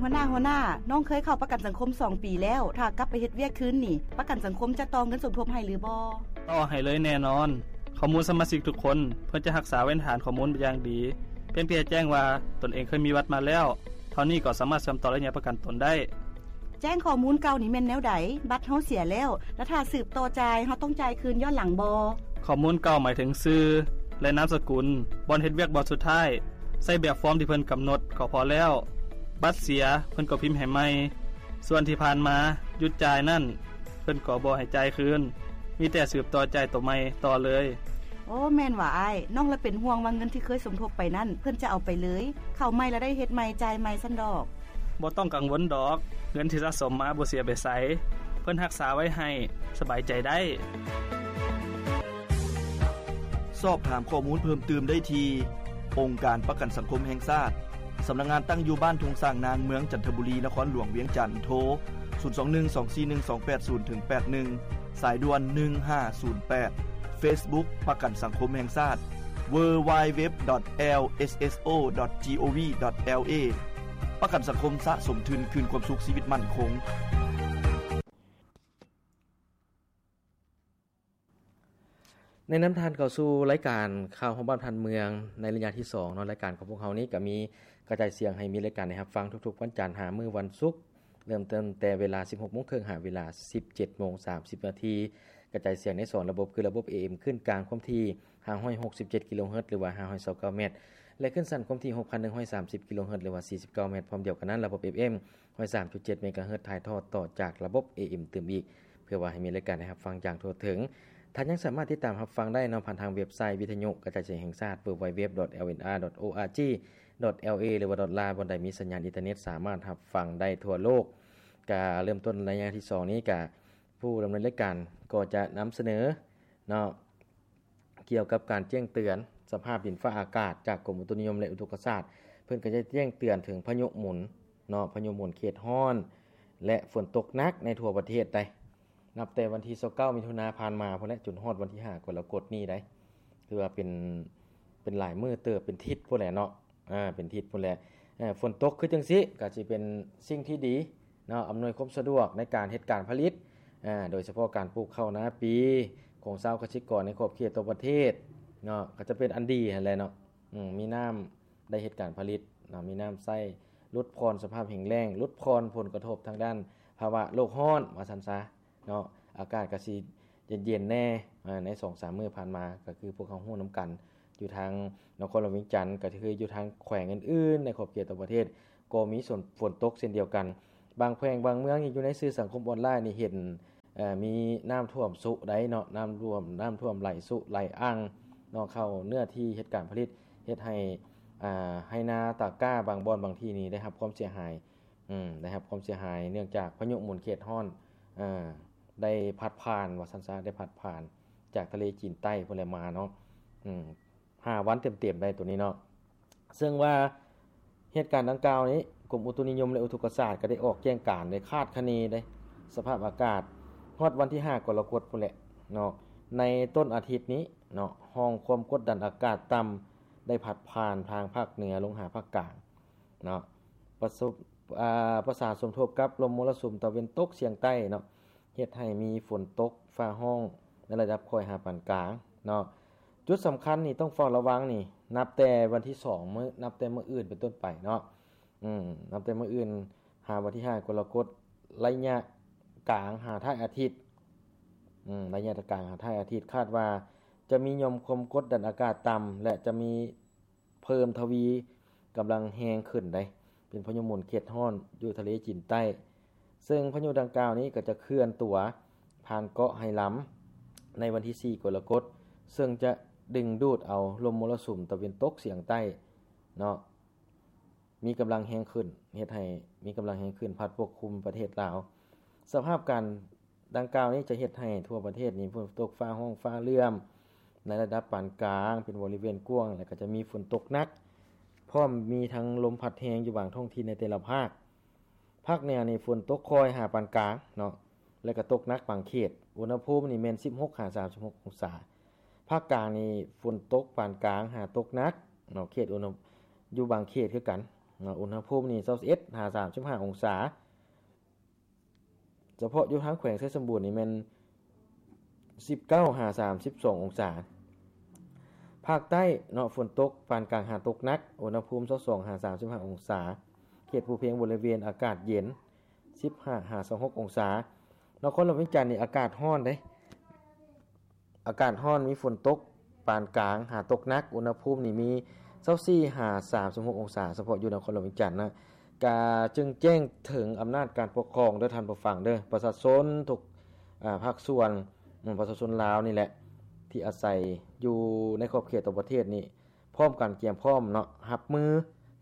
ຫົວໜ້າ, ຫົວໜ້າ, ນ້ອງເຄີຍເຂົ້າປະກັນສັງຄົມສອງປີແລ້ວ, ຖ້າກັບໄປເຮັດວຽກຄືນນີ້, ປະກັນສັງຄົມຈະຕໍ່ເງິນສົມທົບໃຫ້ຫຼືບໍ່? ຕໍ່ໃຫ້ເລີຍແນ່ນອນ. ຂໍ້ມູນສະມາຊິກທຸກຄົນ ເພິ່ນຈະຮັກສາໄວ້ໃນຖານຂໍ້ມູນຢ່າງດີ. ພຽງແຕ່ແຈ້ງວ່າຕົນເອງເຄີຍມີບັດມາແລ້ວ ເທົ່ານີ້ກໍສາມາດເຊື່ອມຕໍ່ໄລຍະປະກັນຕົນໄດ້. ແຈ້ງຂໍ້ມູນເກົ່ານີ້ແມ່ນແນວໃດ? ບັດເຮົາເສຍແລ້ວ, ແລ້ວຖ້າສືບຕໍ່ຈ່າຍ, ເຮົາຕ້ອງຈ່າຍຄືນຍ້ອນຫຼັງບໍ່? ຂໍ້ມູນເກົ່າໝາຍເຖິງຊື່ ແລະ ນາມສະກຸນ, ບ່ອນເຮັດວຽກບ່ອນສຸດທ້າຍ, ໃຊ້ແບບຟອມທີ່ເພິ່ນກຳນົດກໍພໍແລ້ວ. ບັດເສຍ, ເພິ່ນກໍພິມໃຫ້ໃໝ່. ສ່ວນທີ່ຜ່ານມາຢຸດຈ່າຍນັ້ນ, ເພິ່ນກໍບໍ່ໃຫ້ຈ່າຍຄືນ, ມີແຕ່ສືບຕໍ່ຈ່າຍໂຕໃໝ່ຕໍ່ເລີຍ. ໂອ້, ແມ່ນຫວາອ້າຍ. ນ້ອງລະເປັນຫ່ວງວ່າເງິນທີ່ເຄີຍສົມທົບໄປນັ້ນ ເພິ່ນຈະເອົາໄປເລີຍ, ເຂົ້າໃໝ່ລະໄດ້ເຮັດໃໝ່, ຈ່າຍໃໝ່ຊັ້ນດອກ. ບໍ່ຕ້ອງກັງວົນດອກ, ເງິນທີ່ສະສົມມາບໍ່ເສຍໄປໃສ, ເພິ່ນຮັກສາໄວ້ໃຫ້, ສະບາຍໃຈໄດ້. ສອບຖາມຂໍ້ມູນເພີ່ມຕື່ມໄດ້ທີ່ ອົງການປະກັນສັງຄົມແຫ່ງຊາດ, ສຳນັກງານຕັ້ງຢູ່ບ້ານທົ່ງຊ້າງນາງ, ເມືອງຈັນທະບູລີ, ນະຄອນຫຼວງວຽງຈັນ, ໂທ ສູນສອງໜຶ່ງ ສອງສີ່ໜຶ່ງ ສອງແປດສູນ ເຖິງ ແປດໜຶ່ງ, ສາຍດ່ວນ ໜຶ່ງຫ້າສູນແປດ, Facebook ປະກັນສັງຄົມແຫ່ງຊາດ www.lsso.gov.la ປະກັນສັງຄົມສະສົມທຶນຄືນຄວາມສຸກຊີວິດໝັ້ນຄົງ. ແນະນຳທ່ານເຂົ້າສູ່ລາຍການຂ່າວຮອບບ້ານທ່ານເມືອງໃນໄລຍະທີສອງເນາະ. ລາຍການຂອງພວກເຮົານີ້ກໍມີກະຈາຍສຽງໃຫ້ມີລາຍການໄດ້ຮັບຟັງທຸກໆວັນຈັນຫາມື້ວັນສຸກ, ເລີ່ມຕັ້ງແຕ່ເວລາສິບຫົກໂມງເຄິ່ງຫາເວລາສິບເຈັດໂມງສາມສິບນາທີ. ກະຈາຍສຽງໃນສອງລະບົບ ຄືລະບົບ ເອເອັມ ຄື້ນກາງຄວາມຖີ່ຫ້າຮ້ອຍຫົກສິບເຈັດກິໂລເຮີດ ຫຼືວ່າຫ້າຮ້ອຍຊາວເກົ້າແມັດ ແລະ ຄື້ນສັ້ນຄວາມຖີ່ຫົກພັນໜຶ່ງຮ້ອຍສາມສິບກິໂລເຮີດ ຫຼືວ່າສີ່ສິບເກົ້າແມັດ. ພ້ອມດຽວກັນນັ້ນ ລະບົບ ເອຟເອັມ ຮ້ອຍສາມຈຸດເຈັດເມກາເຮີດ ຖ່າຍທອດຕໍ່ຈາກລະບົບ ເອເອັມ ຕື່ມອີກ ເພື່ອວ່າໃຫ້ມີລາຍການໄດ້ຮັບຟັງຢ່າງທົ່ວເຖິງ. ທ່ານຍັງສາມາດຕິດຕາມຮັບຟັງໄດ້ເນາະ ຜ່ານທາງເວັບໄຊ ວິທະຍຸກະຈາຍສຽງແຫ່ງຊາດ www.lnr.org.la ຫຼືວ່າ .la ບ່ອນໃດມີສັນຍານອິນເຕີເນັດ ສາມາດຮັບຟັງໄດ້ທົ່ວໂລກ. ກະເລີ່ມຕົ້ນໄລຍະທີສອງນີ້ ກະຜູ້ດຳເນີນລາຍການກໍຈະນຳສະເໜີເນາະ ກ່ຽວກັບການແຈ້ງເຕືອນສະພາບດິນຟ້າອາກາດຈາກກົມອຸຕຸນິຍົມ ແລະ ອຸທົກກະສາດ. ເພິ່ນກໍຈະແຈ້ງເຕືອນເຖິງພາຍຸໝູນເນາະ, ພາຍຸໝູນເຂດຮ້ອນ ແລະ ຝົນຕົກໜັກໃນທົ່ວປະເທດໃດ໋. ນັບແຕ່ວັນທີຊາວເກົ້າມິຖຸນາຜ່ານມາພຸ້ນແຫຼະ ຈົນຮອດວັນທີຫ້າກໍລະກົດນີ້ໃດ໋. ຖືວ່າເປັນ ເປັນຫຼາຍມື້ເຕີບ, ເປັນທິດພຸ້ນແຫຼະເນາະ. ອາ ເປັນທິດພຸ້ນແຫຼະ. ເອີ ຝົນຕົກຄືຈັ່ງຊີ້ ກໍຊິເປັນສິ່ງທີ່ດີເນາະ, ອຳນວຍຄວາມສະດວກໃນການເຮັດການຜະລິດ, ອາ ໂດຍສະເພາະການປູກເຂົ້ານາປີຂອງຊາວກະສິກອນໃນຂອບເຂດທົ່ວປະເທດເນາະ, ກໍຈະເປັນອັນດີຫັ້ນແຫຼະເນາະ. ອືມ ມີນ້ຳໄດ້ເຮັດການຜະລິດເນາະ, ມີນ້ຳໃຊ້, ຫຼຸດຜ່ອນສະພາບແຫ້ງແລ້ງ, ຫຼຸດຜ່ອນຜົນກະທົບທາງດ້ານພາວະໂລກຮ້ອນ ວ່າຊັ້ນຊະ. ເນາະ, ອາກາດກໍຊິເຢັນໆແດ່ ອາ ໃນສອງສາມມື້ຜ່ານມາ ກໍຄືພວກເຮົາຮູ້ນຳກັນ ຢູ່ທາງນະຄອນຫຼວງວຽງຈັນ ກໍຄືຢູ່ທາງແຂວງອື່ນໆໃນຂອບເຂດທົ່ວປະເທດ ກໍມີຝົນ ຝົນຕົກເຊັ່ນດຽວກັນ. ບາງແຂວງບາງເມືອງນີ້ ຢູ່ໃນສື່ສັງຄົມອອນລາຍນີ້ເຫັນ ເອີ ມີນ້ຳຖ້ວມຊຸໄດ໋ເນາະ, ນ້ຳຖ້ວມ ນ້ຳຖ້ວມໄຫຼຊຸໄຫຼອ່າງເນາະ ເຂົ້າເນື້ອທີ່ເຮັດການຜະລິດ ເຮັດໃຫ້ ອາ ໄຮ່ນາຕາກ້າບາງບ່ອນບາງທີ່ນີ້ໄດ້ຮັບຄວາມເສຍຫາຍ. ອືມ ໄດ້ຮັບຄວາມເສຍຫາຍເນື່ອງຈາກພາຍຸໝູນເຂດຮ້ອນ ເອີ ໄດ້ພັດຜ່ານ ວ່າຊັ້ນຊະ ໄດ້ພັດຜ່ານຈາກທະເລຈີນໃຕ້ພຸ້ນແຫຼະມາເນາະ. ອືມ ຫ້າວັນເຕັມໆໄດ໋ໂຕນີ້ເນາະ. ເຊິ່ງວ່າເຫດການດັ່ງກ່າວນີ້ ກົມອຸຕຸນິຍົມ ແລະ ອຸທົກກະສາດ ກໍໄດ້ອອກແຈ້ງການ ໄດ້ຄາດຄະເນໄດ້ສະພາບອາກາດ ຮອດວັນທີຫ້າກໍລະກົດພຸ້ນແຫຼະເນາະ. ໃນຕົ້ນອາທິດນີ້ເນາະ ຮ່ອງຄວາມກົດດັນອາກາດຕ່ຳ ໄດ້ພັດຜ່ານທາງພາກເໜືອລົງຫາພາກກາງ ເນາະ ປະສົບ ອາ ປະສານສົມທົບກັບລົມມໍລະສຸມຕາເວັນຕົກສຽງໃຕ້ເນາະ ເຮັດໃຫ້ມີຝົນຕົກຟ້າຮ້ອງໃນລະດັບຄ່ອຍຫາປານກາງເນາະ. ຈຸດສຳຄັນນີ້ຕ້ອງເຝົ້າລະວັງນີ້ ນັບແຕ່ວັນທີສອງ ມື້ ນັບແຕ່ມື້ອື່ນເປັນຕົ້ນໄປເນາະ. ອືມ ນັບແຕ່ມື້ອື່ນຫາວັນທີຫ້າກໍລະກົດ ໄລຍະກາງຫາທ້າຍອາທິດ ອືມ ໄລຍະກາງຫາທ້າຍອາທິດ ຄາດວ່າຈະມີຫຍ່ອມຄວາມກົດດັນອາກາດຕ່ຳ ແລະ ຈະມີ ເພີ່ມທະວີກຳລັງແຮງຂຶ້ນໄດ໋ ເປັນພາຍຸໝູນເຂດຮ້ອນຢູ່ທະເລຈີນໃຕ້ ເຊິ່ງພາຍຸດັ່ງກ່າວນີ້ກໍຈະເຄື່ອນຕົວຜ່ານເກາະໄຮລຳໃນວັນທີສີ່ກໍລະກົດ ເຊິ່ງຈະດຶງດູດເອົາລົມມໍລະສຸມຕາເວັນຕົກສຽງໃຕ້ເນາະ ມີກຳລັງແຮງຂຶ້ນ ເຮັດໃຫ້ມີກຳລັງແຮງຂຶ້ນ ພັດປົກຄຸມປະເທດລາວ. ສະພາບການ ດັ່ງກ່າວນີ້ຈະເຮັດໃຫ້ທົ່ວປະເທດນີ້ຝົນຕົກຟ້າຮ້ອງຟ້າເຫຼື້ອມໃນລະດັບປານກາງເປັນບໍລິເວນກວ້າງ ແລະ ກໍຈະມີຝົນຕົກໜັກ ພ້ອມມີທັງລົມພັດແຮງຢູ່ບາງທ້ອງຖິ່ນໃນແຕ່ລະພາກ. ພາກເໜືອນີ້ຝົນຕົກຄ່ອຍຫາປານກາງເນາະ ແລະ ກໍຕົກໜັກບາງເຂດ ອຸນຫະພູມນີ້ແມ່ນສິບຫົກຫາສາມສິບຫົກອົງສາ. ພາກກາງນີ້ຝົນຕົກປານກາງຫາຕົກໜັກເນາະ ເຂດອຸນຫະ ຢູ່ບາງເຂດຄືກັນ ເນາະ ອຸນຫະພູມນີ້ຊາວເອັດຫາສາມສິບຫ້າອົງສາ. ສະເພາະຢູ່ທາງແຂວງໄຊສົມບູນນີ້ແມ່ນສິບເກົ້າຫາສາມສິບສອງອົງສາ. ພາກໃຕ້ເນາະ ຝົນຕົກປານກາງຫາຕົກໜັກ ອຸນຫະພູມຊາວສອງຫາສາມສິບຫ້າອົງສາ. ເຂດພູພຽງບໍລິເວນອາກາດເຢັນ ສິບຫ້າຫາຊາວຫົກອົງສາ. ນະຄອນຫຼວງວຽງຈັນນີ້ອາກາດຮ້ອນເດ້. ອາກາດຮ້ອນ ມີຝົນຕົກປານກາງຫາຕົກໜັກ ອຸນຫະພູມນີ້ມີຊາວສີ່ຫາສາມສິບຫົກອົງສາ ສະເພາະຢູ່ນະຄອນຫຼວງວຽງຈັນນະ. ກະຈຶ່ງແຈ້ງເຖິງອຳນາດການປົກຄອງເດີທ່ານຜູ້ຟັງເດີ ປະຊາຊົນທຸກ ອາ ພາກສ່ວນ ອາ ປະຊາຊົນລາວນີ້ແຫຼະ ທີ່ອາໄສຢູ່ໃນຂອບເຂດຕົວປະເທດນີ້ ພ້ອມກັນກຽມພ້ອມເນາະ ຮັບມື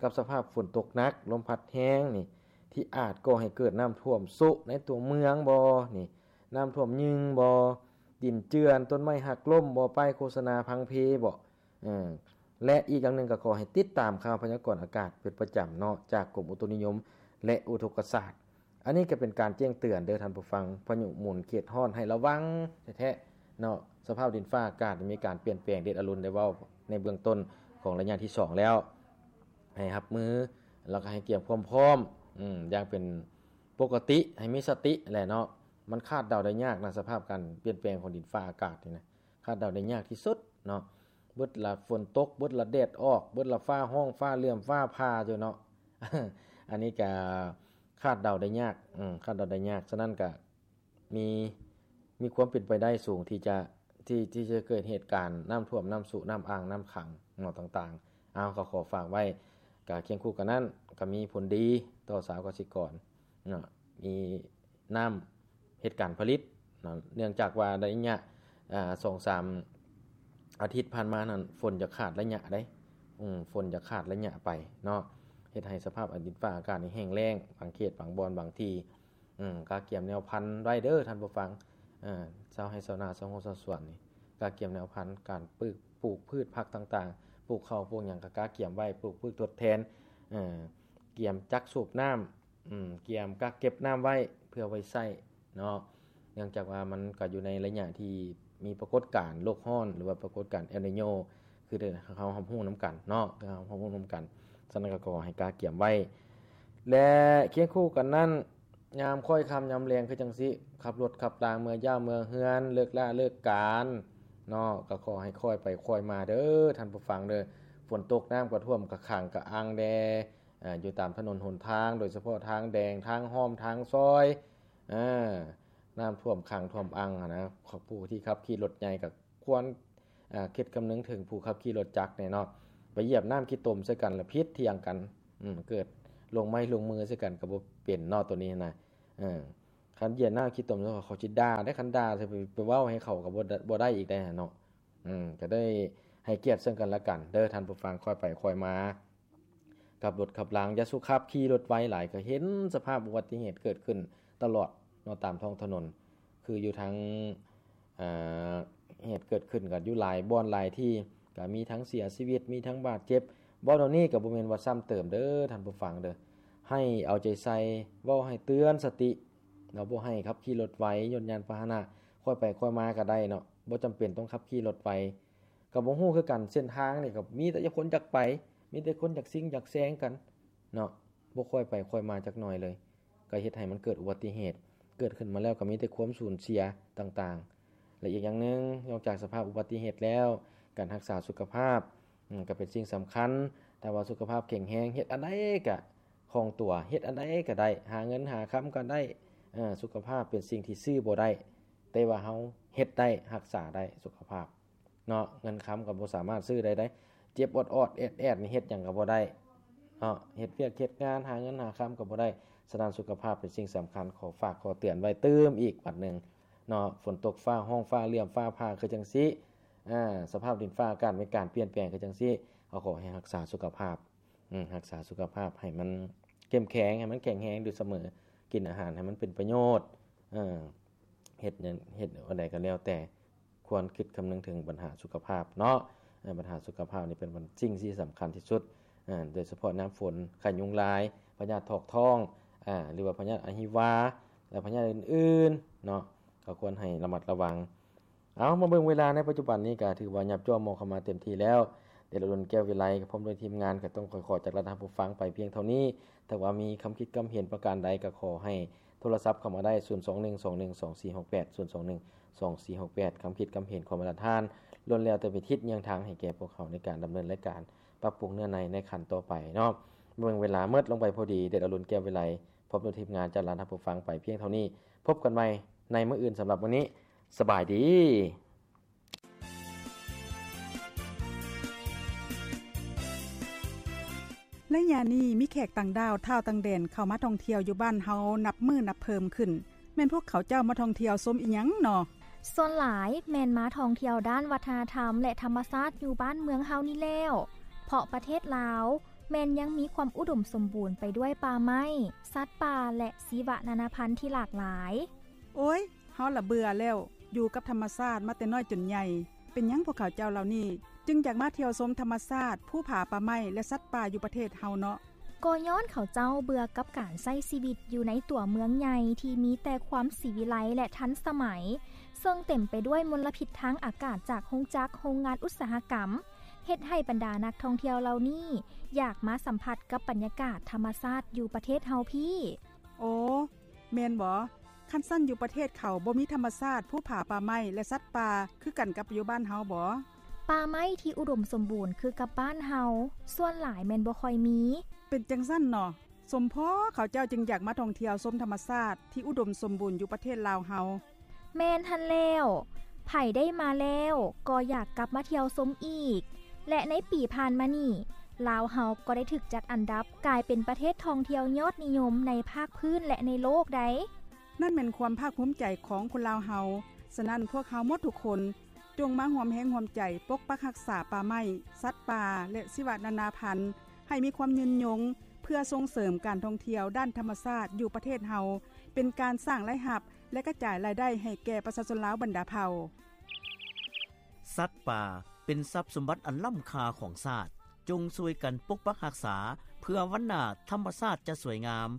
ກັບສະພາບຝົນຕົກໜັກ ລົມພັດແຮງນີ້ ທີ່ອາດກໍ່ໃຫ້ເກີດນ້ຳຖ້ວມໂຊະໃນຕົວເມືອງບໍ ນີ້ ນ້ຳຖ້ວມຍຶ່ງບໍ ດິນເຈື່ອນ ຕົ້ນໄມ້ຫັກລົ້ມບໍ ປ້າຍໂຄສະນາພັງເພບໍ ເອີ ແລະ ອີກຢ່າງໜຶ່ງກໍຂໍໃຫ້ຕິດຕາມຂ່າວພະຍາກອນອາກາດເປັນປະຈຳເນາະ ຈາກກົມອຸຕຸນິຍົມ ແລະ ອຸທົກກະສາດ. ອັນນີ້ກໍເປັນການແຈ້ງເຕືອນເດີທ່ານຜູ້ຟັງ ພາຍຸໝູນເຂດຮ້ອນໃຫ້ລະວັງແທ້ໆເນາະ. ສະພາບດິນຟ້າອາກາດມີການປ່ຽນແປງເດັດອະລຸນ ໄດ້ເວົ້າໃນເບື້ອງຕົ້ນຂອງໄລຍະທີສອງແລ້ວ ໃຫ້ຮັບມື ແລ້ວກໍໃຫ້ກຽມຄວາມພ້ອມ ອືມ ຢ່າງເປັນປົກກະຕິ ໃຫ້ມີສະຕິແຫຼະເນາະ. ມັນຄາດເດົາໄດ້ຍາກນະ ສະພາບການປ່ຽນແປງຂອງດິນຟ້າອາກາດນີ້ນະ ຄາດເດົາໄດ້ຍາກທີ່ສຸດເນາະ. ເບິດລະຝົນຕົກ ເບິດລະແດດອອກ ເບິດລະຟ້າຮ້ອງ ຟ້າເຫຼື້ອມ ຟ້າຜ່າຢູ່ເນາະ. ອັນນີ້ກະຄາດເດົາໄດ້ຍາກ ອືມ ຄາດເດົາໄດ້ຍາກ. ສະນັ້ນກະມີ ມີຄວາມເປັນໄປໄດ້ສູງທີ່ຈະ ທີ່ ທີ່ຈະເກີດເຫດການນ້ຳຖ້ວມ ນ້ຳຊຸ ນ້ຳອ່າງ ນ້ຳຂັງເນາະ ຕ່າງໆ. ເອົາ ກໍຂໍຝາກໄວ້ ກະຄຽງຄູ່ກັນນັ້ນ ກະມີຜົນດີຕໍ່ຊາວກະສິກອນເນາະ ມີ ນ້ຳເຮັດການຜະລິດເນາະ ເນື່ອງຈາກວ່າໄລຍະ ອາ ສອງສາມອາທິດຜ່ານມານັ້ນ ຝົນຈະຂາດໄລຍະເດ້ ອືມ ຝົນຈະຂາດໄລຍະໄປເນາະ ເຮັດໃຫ້ສະພາບດິນຟ້າອາກາດນີ້ແຫ້ງແລ້ງ ບາງເຂດບາງບ່ອນບາງທີ່ ອືມ ກະກຽມແນວພັນໄວ້ເດີທ່ານຜູ້ຟັງ ເອີ ຊາວໄຮ່ຊາວນາ ຊາວໄຮ່ຊາວສວນນີ້ ກະກຽມແນວພັນ ການປູກ ປູກພືດຜັກຕ່າງໆ ປູກເຂົ້າປູກຫຍັງ ກະກະກຽມໄວ້ ປູກພືດທົດແທນ ເອີ ກຽມຈັກສູບນ້ຳ ອືມ ກຽມກັກເກັບນ້ຳໄວ້ເພື່ອໄວ້ໃຊ້ເນາະ ເນື່ອງຈາກວ່າມັນກໍຢູ່ໃນໄລຍະທີ່ມີປາກົດການໂລກຮ້ອນ ຫຼືວ່າປາກົດການເອລນີໂຍ ຄືເຮົາຮັບຮູ້ນຳກັນເນາະ ເຮົາຮັບຮູ້ນຳກັນ. ສະນັ້ນກໍຂໍໃຫ້ກະກຽມໄວ້ ແລະ ຄຽງຄູ່ກັນນັ້ນ ຍາມຄ້ອຍຄ່ຳຍາມແລງຄືຈັ່ງຊີ້ ຂັບລົດຂັບລາເມືອຢ້າມເມືອເຮືອນ ເລີກລາເລີກການເນາະ ກໍຂໍໃຫ້ຄ່ອຍໄປຄ່ອຍມາເດີທ່ານຜູ້ຟັງເດີ. ຝົນຕົກນ້ຳກໍຖ້ວມ ກະຂັງກະອັ່ງແດ່ ເອີ ຢູ່ຕາມຖະໜົນຫົນທາງ ໂດຍສະເພາະທາງແດງ ທາງຮ່ອມ ທາງຊອຍ ເອີ ນ້ຳຖ້ວມຂັງຖ້ວມອັ່ງຫັ້ນນະ. ຜູ້ທີ່ຂັບຂີ່ລົດໃຫຍ່ກໍຄວນ ເອີ ຄິດຄຳນຶງເຖິງຜູ້ຂັບຂີ່ລົດຈັກແດ່ເນາະ ໄປຢຽບນ້ຳຂີ້ຕົມໃສ່ກັນລະຜິດຖຽງກັນ ອືມ ເກີດລົງໄມ້ລົງມືໃສ່ກັນກໍບໍ່ເປັນເນາະ ໂຕນີ້ນະ. ເອີ ຄັນຢຽບນ້ຳຂີ້ຕົມເຂົາຊິດ່າເດ້ ຄັນດ່າ ໄປ ໄປເວົ້າໃຫ້ເຂົາກໍບໍ່ ບໍ່ໄດ້ອີກໄດ໋ຫັ້ນເນາະ. ອືມ ກໍໄດ້ໃຫ້ກຽດເຊິ່ງກັນແລະກັນເດີທ່ານຜູ້ຟັງ ຄ່ອຍໄປຄ່ອຍມາ ຂັບລົດຂັບລາ ຢ່າສຸຂັບຂີ່ລົດໄວຫຼາຍ ກໍເຫັນສະພາບອຸບັດຕິເຫດເກີດຂຶ້ນຕະຫຼອດເນາະ ຕາມທ້ອງຖະໜົນ ຄືຢູ່ທາງ ເອີ ເຫດເກີດຂຶ້ນກໍຢູ່ຫຼາຍບ່ອນຫຼາຍທີ່ ກໍມີທັງເສຍຊີວິດ ມີທັງບາດເຈັບ. ເວົ້າເຫຼົ່ານີ້ກໍບໍ່ແມ່ນວ່າຊ້ຳເຕີມເດີທ່ານຜູ້ຟັງເດີ ໃຫ້ເອົາໃຈໃສ່ ເວົ້າໃຫ້ເຕືອນສະຕິ ເນາະ ບໍ່ໃຫ້ຂັບຂີ່ລົດໄວ ຍົນຍານພາຫະນະ ຄ່ອຍໄປຄ່ອຍມາກໍໄດ້ເນາະ ບໍ່ຈຳເປັນຕ້ອງຂັບຂີ່ລົດໄວ ກໍບໍ່ຮູ້ຄືກັນ ເສັ້ນທາງນີ້ກໍມີແຕ່ຄົນຢາກໄປ ມີແຕ່ຄົນຢາກຊິງຢາກແຊງກັນເນາະ ບໍ່ຄ່ອຍໄປຄ່ອຍມາຈັກໜ້ອຍເລີຍ ກໍເຮັດໃຫ້ມັນເກີດອຸບັດຕິເຫດ ເກີດຂຶ້ນມາແລ້ວກໍມີແຕ່ຄວາມສູນເສຍຕ່າງໆ. ແລະ ອີກຢ່າງໜຶ່ງ ນອກຈາກສະພາບອຸບັດຕິເຫດແລ້ວ ການຮັກສາສຸຂະພາບ ອືມ ກໍເປັນສິ່ງສຳຄັນ. ຖ້າວ່າສຸຂະພາບແຂງແຮງ ເຮັດອັນໃດກໍຄ່ອງຕົວ ເຮັດອັນໃດກໍໄດ້ ຫາເງິນຫາຄຳກໍໄດ້ ເອີ ສຸຂະພາບເປັນສິ່ງທີ່ຊື້ບໍ່ໄດ້ ແຕ່ວ່າເຮົາເຮັດໄດ້ ຮັກສາໄດ້ສຸຂະພາບເນາະ ເງິນຄຳກໍບໍ່ສາມາດຊື້ໄດ້ເດ້. ເຈັບອອດໆແອດໆນີ້ເຮັດຫຍັງກໍບໍ່ໄດ້ເນາະ ເຮັດວຽກເຮັດງານ ຫາເງິນຫາຄຳກໍບໍ່ໄດ້. ສະນັ້ນ ສຸຂະພາບເປັນສິ່ງສຳຄັນ ຂໍຝາກຂໍເຕືອນໄວ້ຕື່ມອີກບັດໜຶ່ງເນາະ. ຝົນຕົກ ຟ້າຮ້ອງ ຟ້າເຫຼື້ອມ ຟ້າຜ່າ ຄືຈັ່ງຊີ້ ອາ ສະພາບດິນຟ້າອາກາດມີການປ່ຽນແປງຄືຈັ່ງຊີ້ ເຮົາຂໍໃຫ້ຮັກສາສຸຂະພາບ ອືມ ຮັກສາສຸຂະພາບໃຫ້ມັນເຂັ້ມແຂງ ໃຫ້ມັນແຂງແຮງຢູ່ສະເໝີ ກິນອາຫານໃຫ້ມັນເປັນປະໂຫຍດ ເອີ ເຮັດຫຍັງ ເຮັດອັນໃດກໍແລ້ວແຕ່ ຄວນຄິດຄຳນຶງເຖິງບັນຫາສຸຂະພາບເນາະ. ເອີ ບັນຫາສຸຂະພາບນີ້ເປັນ ເປັນສິ່ງທີ່ສຳຄັນທີ່ສຸດ ເອີ ໂດຍສະເພາະຍາມຝົນ ໄຂ້ຍຸງລາຍ ພະຍາດຖອກທ້ອງ ອາ ຫຼືວ່າພະຍາດອະຫິວາ ແລະ ພະຍາດອື່ນໆເນາະ ກໍຄວນໃຫ້ລະມັດລະວັງ. ເອົາ ມາເບິ່ງເວລາໃນປັດຈຸບັນນີ້ ກໍຖືວ່າຫຍັບຈ້ວງມອງເຂົ້າມາເຕັມທີ່ແລ້ວ ເດດອະລຸນ ແກ້ວວິໄລ ພ້ອມດ້ວຍທີມງານ ກໍຕ້ອງຂໍຈາກລາທ່ານຜູ້ຟັງໄປພຽງເທົ່ານີ້. ຖ້າວ່າມີຄຳຄິດຄຳເຫັນປະການໃດ ກໍຂໍໃຫ້ໂທລະສັບເຂົ້າມາໄດ້ ສູນສອງໜຶ່ງສອງໜຶ່ງສອງສີ່ຫົກແປດ ສູນສອງໜຶ່ງສອງສີ່ຫົກແປດ. ຄຳຄິດຄຳເຫັນຂອງບັນດາທ່ານ ລ້ວນແລ້ວແຕ່ເປັນທິດຍ່າງທາງໃຫ້ແກ່ພວກເຮົາໃນການດຳເນີນລາຍການປັບປຸງເນື້ອໃນໃນຂັ້ນຕໍ່ໄປເນາະ. ເບິ່ງເວລາໝົດລົງໄປພໍດີ, ເດດອະລຸນ ແກ້ວວິໄລ ພ້ອມດ້ວຍທີມງານຈາກລາທ່ານຜູ້ຟັງໄປພຽງເທົ່ານີ້. ພົບກັນໃໝ່ໃນມື້ອື່ນ. ສຳລັບມື້ນີ້ ສະບາຍດີ. ໄລຍະນີ້ມີແຂກຕ່າງດ້າວ ທ້າວຕ່າງແດນ ເຂົ້າມາທ່ອງທ່ຽວຢູ່ບ້ານເຮົານັບມື້ນັບເພີ່ມຂຶ້ນ. ແມ່ນພວກເຂົາເຈົ້າມາທ່ອງທ່ຽວຊົມອີ່ຫຍັງນໍ? ສ່ວນຫຼາຍແມ່ນມາທ່ອງທ່ຽວດ້ານວັດທະນະທຳ ແລະ ທຳມະຊາດຢູ່ບ້ານເມືອງເຮົານີ້ແລ້ວ, ເພາະປະເທດລາວແມ່ນຍັງມີຄວາມອຸດົມສົມບູນໄປດ້ວຍປ່າໄມ້, ສັດປ່າ ແລະ ຊີວະນານາພັນທີ່ຫຼາກຫຼາຍ. ໂອ້ຍ ເຮົາລະເບື່ອແລ້ວ, ຢູ່ກັບທຳມະຊາດມາແຕ່ນ້ອຍຈົນໃຫຍ່. ເປັນຫຍັງພວກເຂົາເຈົ້າເຫຼົ່ານີ້ຈຶ່ງຢາກມາທ່ຽວຊົມທຳມະຊາດ, ພູຜາ, ປ່າໄມ້ ແລະ ສັດປ່າຢູ່ປະເທດເຮົາເນາະ? ກໍຍ້ອນເຂົາເຈົ້າເບື່ອກັບການໃຊ້ຊີວິດຢູ່ໃນຕົວເມືອງໃຫຍ່ທີ່ມີແຕ່ຄວາມສີວິໄລ ແລະ ທັນສະໄໝ, ເຊິ່ງເຕັມໄປດ້ວຍມົນລະພິດທາງອາກາດຈາກໂຮງຈັກ, ໂຮງງານອຸດສາຫະກຳ, ເຮັດໃຫ້ບັນດານັກທ່ອງທ່ຽວເຫຼົ່ານີ້ຢາກມາສຳຜັດກັບບັນຍາກາດທຳມະຊາດຢູ່ປະເທດເຮົາພີ້. ໂອ້ ແມ່ນບໍ? ຄັນຊັ້ນຢູ່ປະເທດເຂົາບໍ່ມີທຳມະຊາດ, ພູຜາ, ປ່າໄມ້ ແລະ ສັດປ່າຄືກັນກັບຢູ່ບ້ານເຮົາບໍ? ປ່າໄມ້ທີ່ອຸດົມສົມບູນຄືກັບບ້ານເຮົາ, ສ່ວນຫຼາຍແມ່ນບໍ່ຄ່ອຍມີ. ເປັນຈັ່ງຊັ້ນເນາະ, ສົມພໍເຂົາເຈົ້າຈຶ່ງຢາກມາທ່ອງທ່ຽວຊົມທຳມະຊາດທີ່ອຸດົມສົມບູນຢູ່ປະເທດລາວເຮົາ. ແມ່ນຫັ້ນແລ້ວ, ໃຜໄດ້ມາແລ້ວກໍຢາກກັບມາທ່ຽວຊົມອີກ ແລະ ໃນປີຜ່ານມານີ້ ລາວເຮົາກໍໄດ້ຖືກຈັດອັນດັບກາຍເປັນປະເທດທ່ອງທ່ຽວຍອດນິຍົມໃນພາກພື້ນ ແລະ ໃນໂລກໃດ໋. ນັ້ນແມ່ນຄວາມພາກພູມໃຈຂອງຄົນລາວເຮົາ. ສະນັ້ນ ພວກເຮົາໝົດທຸກຄົນ ຈົ່ງມາຮ່ວມແຮງຮ່ວມໃຈປົກປັກຮັກສາປ່າໄມ້, ສັດປ່າ ແລະ ຊີວະນານາພັນ ໃຫ້ມີຄວາມຍືນຍົງ ເພື່ອສົ່ງເສີມການທ່ອງທ່ຽວດ້ານທຳມະຊາດຢູ່ປະເທດເຮົາ, ເປັນການສ້າງລາຍຮັບ ແລະ ກະຈາຍລາຍໄດ້ໃຫ້ແກ່ປະຊາຊົນລາວບັນດາເຜົ່າ. ສັດປ່າເປັນຊັບສົມບັດອັນລ້ຳຄ່າຂອງຊາດ. ຈົ່ງຊ່ວຍກັນປົກປັກຮັກສາ ເພື່ອວັນໜ້າທຳມະຊາດຈະສວຍງາມ,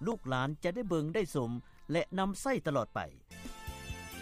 ລູກຫຼານຈະໄດ້ເບິ່ງໄດ້ຊົມ ແລະ ນຳໃຊ້ຕະຫຼອດໄປ.